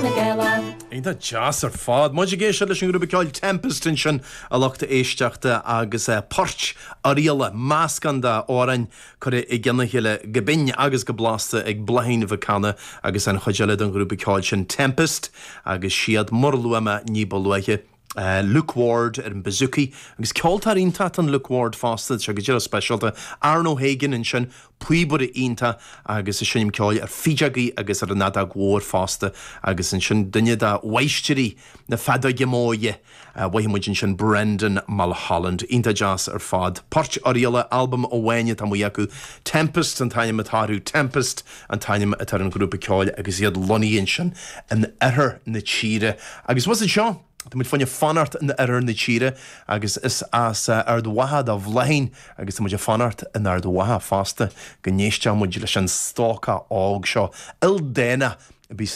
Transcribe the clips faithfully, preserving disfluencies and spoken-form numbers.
na Geala. Iontach deas ar fad. Muid ag éisteacht leis an ngrúpa ceoil Tempest ansin a lucht éisteachta agus poirt Oirialla meascán d'amhráin curtha i gcionn a chéile go binn agus go blasta ag Bláithín Mhic Cana agus an chuid eile den ghrúpa ceoil sin Tempest agus siad mar a luaigh mé ní ba luaithe. Uh, Luke Ward ar an bouzouki agus ceoltóir iontach an Luke Ward fosta sé go dtí speisialta Aaron O'Hagan ansin píobaire iontach agus ag seinm ceoil ar fhidéilí agus ar an fheadóg mhór fosta agus ansin duine de mháistrí na feadóige móire uh, mhothaigh muid ansin Brendan Mulholland iontach deas ar fad. Poirt Oirialla albam amháin atá amuigh acu Tempest an t-ainm atá orthu Tempest an t-ainm atá an grúpa ceoil agus iad lonnaithe ansin in oirthear na tíre. Agus was seo Tá muid fós ag fanacht in oirthear na tíre agus is as Ard Mhacha do Bhláithín agus tá muid ag fanacht in Ard Mhacha fosta go n-éistfidh muid leis an stócach óg seo ildánach bhí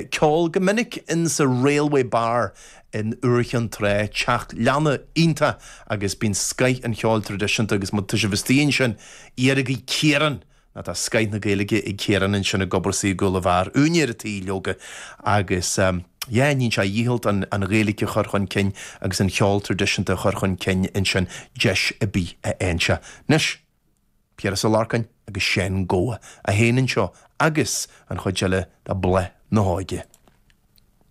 ceol go minic in sa Railway Bar in Iúr Chinn Trá teach leanna iontach agus bíonn scoth an cheoil traidisiúnta agus má tá sibh istigh ansin iarraigí Ciarán ná tá scoth na Gaeilge ag Ciarán ansin ag obair sa gcúl a bheár úinéir an tí leoga agus um, Ja, níonn sé dhíchilt an, an Ghaeilge a chur chun cinn agus an ceol traidisiúnta a chur chun cinn ansin deis a bí a einse. Anois, Piaras Ó Lorcáin agus Seán Gabha a haon seo agus an chuid eile de Bláth na hÓige.